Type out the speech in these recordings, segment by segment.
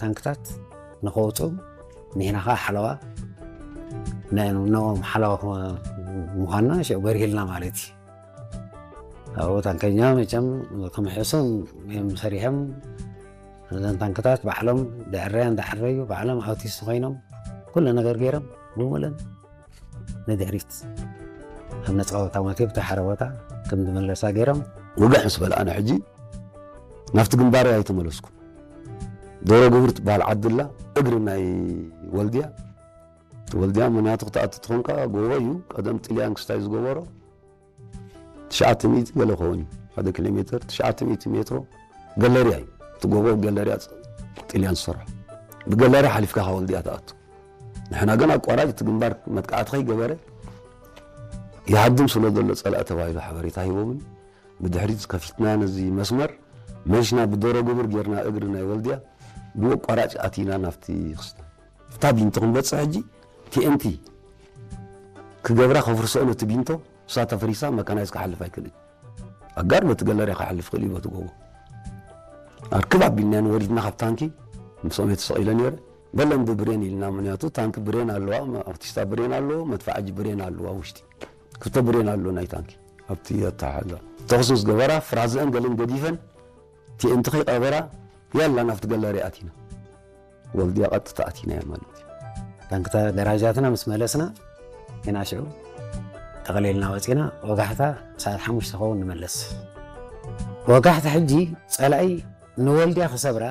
ታንክታት ንኸውፅኡ ንሕና ከዓ ሓለዋ ንዕኦም ሓለዋ ምዃንና ሽዑ በሪህልና ማለት እዩ። ኣብኡ ታንከኛ መቸም ከምሕሱም እዮም ሰሪሖም። እዘን ታንክታት ባዕሎም ደዕረያ እንዳዕረዩ ባዕሎም ኣውቲስት ኮይኖም ኩሉ ነገር ገይሮም ብምለን ንድሕሪት ኣብ ነፃ ቦታ ሞት ብታ ሓደ ቦታ ከም ዝመለሳ ገይሮም። ውግሕ ምስ በልኣና ሕጂ ናብቲ ግንባር ኣይተመለስኩ። ዶሮ ግብር ትበሃል ዓድላ እግሪ ናይ ወልድያ። ወልድያ ምክንያቱ ክትኣቱ ትኾንካ ጎቦ እዩ። ቀደም ጥልያን ክስታይ ዝገበሮ ትሽዓተ ሚእቲ ገለ ኸውን እዩ። ሓደ ኪሎ ሜትር ትሽዓተ ሚእቲ ሜትሮ ገለርያ እዩ። እቲ ጎቦ ገለርያ ጥልያን ዝሰርሖ። ብገለርያ ሓሊፍካ ካብ ወልድያ ትኣቱ። ንሕና ግን ኣቋራጭ እቲ ግንባር መጥቃዕቲ ከይገበረ ይሃድም ስለ ዘሎ ጸላእ ተባሂሉ ሓበሬታ ሂቦምን ብድሕሪት ከፊትና ነዚ መስመር መሽና ብደሮ ግብር ጌርና እግሪ ናይ ወልድያ ብኣቋራጭ ኣቲና ናብቲ ክስታ። እታ ቢንቶ ክንበጽሕ ሕጂ ቲኤንቲ ክገብራ ከፍርሶ ነቲ ቢንቶ እሳ ተፈሪሳ መካናይዝ ክሓልፍ ኣይክእልን። ኣጋር በቲ ገለርያ ክሓልፍ ክእል እዩ በቲ ጎቦ። ኣርክብ ኣቢልናያን ወሪድና ካብ ታንኪ ምስኦም እየ ተሰቒለ ነይረ። በለን ብብሬን ኢልና ምክንያቱ ታንኪ ብሬን ኣለዋ፣ ኣርቲስታ ብሬን ኣለዎ፣ መድፋዓጂ ብሬን ኣለዋ ውሽጢ ክልተ ብሬን ኣሎ ናይ ታንኪ ኣብቲ ኣተሓዛ ተኹስ ምስ ገበራ ፍራዝአን ገለን ገዲፈን ቲኤንቲ ከይቀበራ ያላ ናብቲ ገለርያ ኣቲና። ወልድያ ቀጥታ ኣቲናዮ ማለት እዩ። ታንክታ ገራጃትና ምስ መለስና ኢና ሽዑ ጠቕሊልና ወፂና ወጋሕታ ሰዓት ሓሙሽተ ኸውን ንመለስ። ወጋሕታ ሕጂ ፀላኢ ንወልድያ ክሰብራ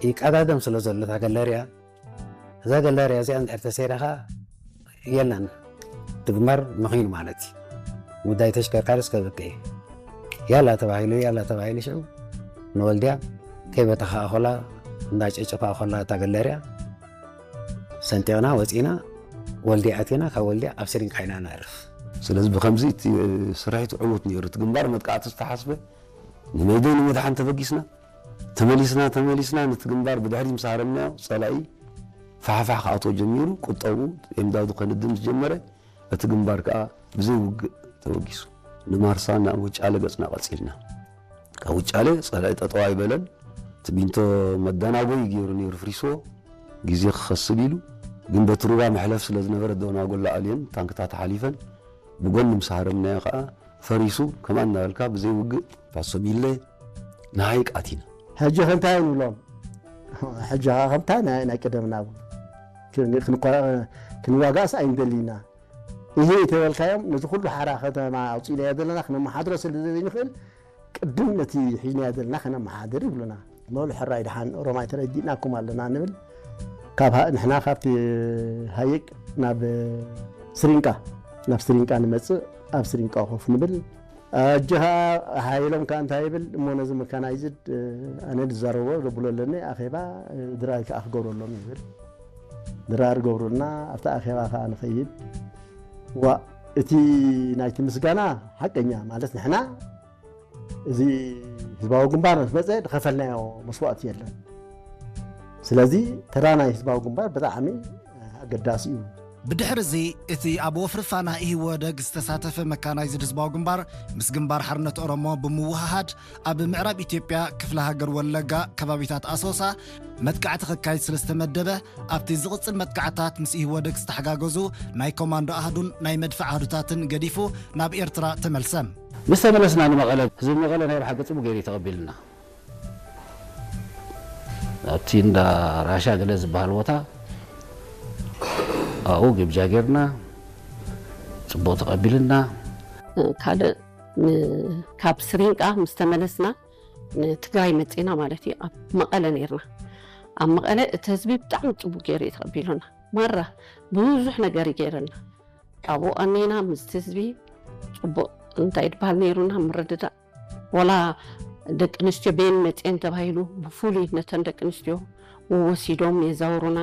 ይቀዳደም ስለ ዘሎ እታ ገለርያ እዛ ገለርያ እዚኣ እንድሕር ተሰይራ ኸዓ የላን ትግመር ምኺኑ ማለት እዩ። ጉዳይ ተሽከርካሪ እስከ ብቅ ያላ ተባሂሉ ያላ ተባሂሉ ሽዑ ንወልድያ ከይበተኻ ኣኾላ እንዳጨጨፋ ኣኾላ እታ ገለርያ ሰንጢቕና ወፂና ወልድያ ኣቲና ካብ ወልድያ ኣብ ስሪንቃ ኢና ነዕርፍ። ስለዚ ብከምዚ እቲ ስርሒት ዕዉት ነይሩ። እቲ ግንባር መጥቃዕቲ ዝተሓስበ ንመይደይ ንምድሓን ተበጊስና ተመሊስና ተመሊስና ነቲ ግንባር ብድሕሪ ምስ ሃረምናዮ ጸላኢ ፋሕፋሕ ክኣትዎ ጀሚሩ። ቁጠቡ ኤምዳዱ ከንድም ዝጀመረ እቲ ግንባር ከኣ ብዘይ ውግእ ተበጊሱ ንማርሳ ናብ ውጫለ ገጽና ቀጺልና። ካብ ውጫለ ጸላኢ ጠጠው ኣይበለን። እቲ ቢንቶ መዳናጎይ ገይሩ ነይሩ ፍሪስዎ ግዜ ክኸስብ ኢሉ ግን በቲ ሩባ መሕለፍ ስለ ዝነበረ ደናጎላ ኣልየን ታንክታት ሓሊፈን ብጎኒ ምስ ሃረምናዮ ከኣ ፈሪሱ ከማን እናበልካ ብዘይ ውግእ ፋሶ ሚለ ንሃይቅ ኣቲና። ሕጂ ከ እንታይ ንብሎም? ሕጂ ከኣ ከምታ ናይ ናይ ቀደምና ቡ- ክን- ክንኳ- ክንዋጋእስ ኣይንደሊና። ይሄ የተበልካዮም ነዚ ኩሉ ሓራ ከተማ ኣውፂእናዮ ዘለና ክነመሓድሮ ስለ ዘይንኽእል ቅድም ነቲ ሒዝናዮ ዘለና ከነመሓድር ይብሉና። በሉ ሕራይ ደሓን ኦሮማይ ተረዲእናኩም ኣለና ንብል። ካብ ሃ- ንሕና ካብቲ ሃይቅ ናብ ስሪንቃ ናብ ስሪንቃ ንመፅእ ኣብ ስሪንቃ ኮፍ ንብል። ኣጀኻ ሓይሎም ከኣ እንታይ ይብል እሞ ነዚ መካናይዝድ ኣነ ዝዛረቦ ዘብሎ ኣለኒ ኣኼባ ድራር ከኣ ክገብረሎም ይብል። ድራር ገብሩልና ኣብቲ ኣኼባ ከኣ ንኸይድ። ዋ እቲ ናይቲ ምስጋና ሓቀኛ ማለት ንሕና እዚ ህዝባዊ ግንባር ምስ መፀ ዝኸፈልናዮ መስዋእቲ የለን። ስለዚ ተራ ናይ ህዝባዊ ግንባር ብጣዕሚ ኣገዳሲ እዩ። ብድሕሪ እዚ እቲ ኣብ ወፍሪ ፋና ኢህወደግ ዝተሳተፈ መካናይዝድ ህዝባዊ ግንባር ምስ ግንባር ሓርነት ኦሮሞ ብምውህሃድ ኣብ ምዕራብ ኢትዮጵያ ክፍለ ሃገር ወለጋ ከባቢታት ኣሶሳ መጥቃዕቲ ከካይድ ስለ ዝተመደበ ኣብቲ ዝቕጽል መጥቃዕታት ምስ ኢህወደግ ዝተሓጋገዙ ናይ ኮማንዶ ኣሃዱን ናይ መድፍዕ ኣሃዱታትን ገዲፉ ናብ ኤርትራ ተመልሰ። ምስ ተመለስና ንመቐለ ህዝቢ መቐለ ናይ ብሓቂ ጽቡቅ ገይሩ እዩ ተቐቢልና። ኣብቲ እንዳ ራሻ ገለ ዝበሃል ቦታ ኣብኡ ግብጃ ጌርና ጽቡቕ ተቐቢልና። ካልእ ን- ካብ ስሪንቃ ምስ ተመለስና ንትግራይ መጺና ማለት እዩ። ኣብ መቐለ ነርና። ኣብ መቐለ እቲ ህዝቢ ብጣዕሚ ጽቡቕ ገይሩ እዩ ተቐቢሉና። ማራ ብዙሕ ነገር እዩ ገይሩና። ኣብኡ ኣኔና ምስቲ ህዝቢ ጽቡቕ እንታይ ድበሃል ነይሩና ምርድዳእ። ወላ ደቂ ኣንስትዮ ቤን መጽኤን ተባሂሉ ብፍሉይ ነተን ደቂ ኣንስትዮ ወሲዶም የዛውሩና፣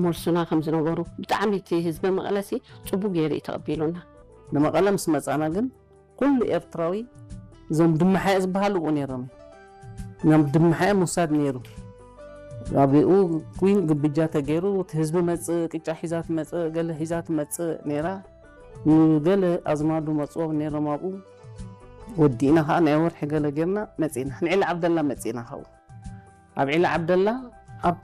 መልሱና ከም ዝነበሩ። ብጣዕሚ እቲ ህዝቢ መቐለሲ ጽቡቕ ገይሩ እዩ ተቐቢሉና። ንመቐለ ምስ መጻና ግን ኩሉ ኤርትራዊ እዞም ድመሓየ ዝበሃሉ እኮ ነይሮም። እዞም ድመሓየ ምውሳድ ነይሩ። ኣብኡ ኩን ግብጃ ተገይሩ፣ እቲ ህዝቢ መጽእ፣ ቅጫ ሒዛ ትመጽእ፣ ገለ ሒዛ ትመጽእ ነይራ። ንገለ ኣዝማዱ መጽዎም ነይሮም ኣብኡ። ወዲእና ኸዓ ናይ ወርሒ ገለ ጌርና መጺእና። ንዒላ ዓብደላ መጺእና ካብኡ። ኣብ ዒላ ዓብደላ ኣብ